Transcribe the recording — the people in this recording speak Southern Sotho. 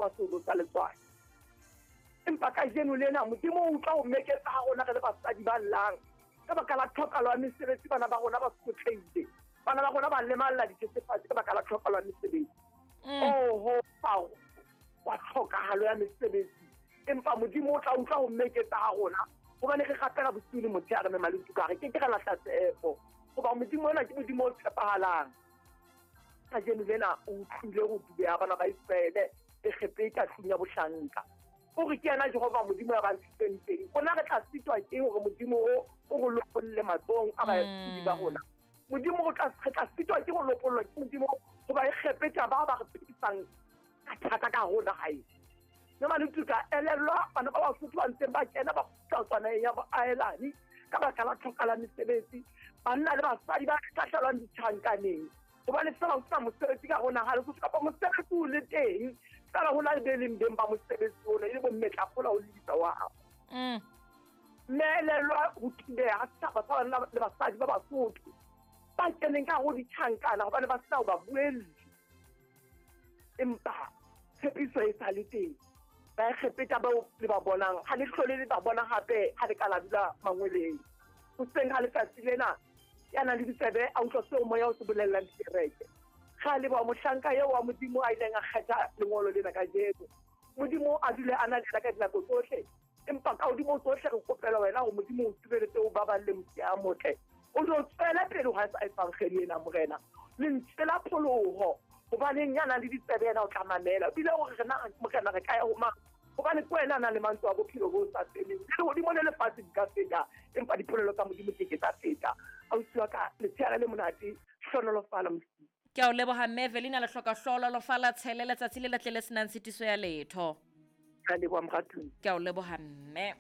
Wa seolo sa letswai. Empa kajeno lena Modimo o utlwa ho meketsa ha rona re le basadi ba llang ka baka la tlhokalo ya mesebetsi. Bana ba rona ba sotlehile, bana ba rona ba lemalla dithethefatsi ka baka la tlhokalo ya mesebetsi. Oho, Faro wa tlhokahalo ya mesebetsi, empa Modimo o tla utlwa ho meketsa ha rona, hobane re rapela bosiu le motshehare, mme Maletuka re ke ke ra lahla tshepo, hoba Modimo ona ke Modimo o tshepahalang. Kajeno lena o utlwile ho dubeha bana ba Iseraele Egepeta tlung ya bohlanka. O re ke yena Jehova Modimo ya ba ntshitseng teng. Rona re tla sitwa ke hore Modimo o o re lopolle matsohong a baetsedi ba rona. Modimo o tla re tla sitwa ke ho lopollwa ke Modimo hoba Egepeta ba ba re phedisang ka thata ka hare ho naha ena. Mme Maletuka elellwa bana ba Basotho ba ntseng ba kena ba kgutla tswa naheng ya boahelani ka baka la tlhoka la mesebetsi, banna le basadi ba hlahlelwang ditjhankaneng hobane fela ho sena mosebetsi ka ho naha Lesotho, kapa mosebetsi o le teng fela ho na le be leng beng ba mosebetsi ona e le bommetlakgola ho lebisa wa hao. Mme elellwa ho thubeha ha setjhaba sa banna le basadi ba Basotho ba keneng ka ho ditjhankana hobane ba sena ho ba buelli. Empa tshepiso e sa le teng. Baegepeta bao le ba bonang ha le hlole le ba bona hape, ha le ka la dula mangweleng. Hoseng ha letsatsi lena, ya nang le ditsebe a utlwa seo moya o se bolellang dikereke. Re a leboha mohlanka eo wa Modimo a ileng a kgetha lengolo lena kajeno. Modimo a dule a na le yena ka dinako tsohle. Empa ka hodimo tsohle re kopela wena hore Modimo o tsireletse, o baballe mosia a motle. O no tswele pele ho etsa evangeli ena, Morena. Lentswe la pholoho, hobaneng ya nang le ditsebe yena o tla mamela. Ebile hore re na, Morena, re ka ya ho mang? Hobane ke wena a nang le mantswe a bophelo bo sa feleng. Le lehodimo le lefatshe di ka feta, empa dipolelo tsa Modimo ke ke tsa feta. Ausi wa ka, letsheare le monate, hlonolofala Modimo. Ke a o leboha mme Evelina, le hloka hlohonolofala tshele letsatsi le letle le senang tshitiso ya letho. Ka leboha moratuwa. Ke a o leboha mme.